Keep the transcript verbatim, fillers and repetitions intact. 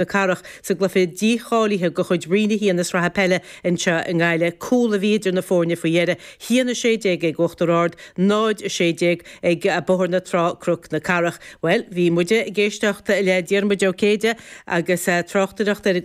na Cathrach sa gcluiche dícháilithe de chuid Roinn a haon na Sraithe Peile anseo i nGaillimh. Cúl a bhí idir na foirne faoi dheireadh, a haon a sé déag ag Uachtar Ard, náid a sé déag ag Bóthar na Trá Cnoc na Cathrach. Bhuel, bhí muide ag éisteacht le Diarmuid Ó Céide agus tráchtaireacht ar an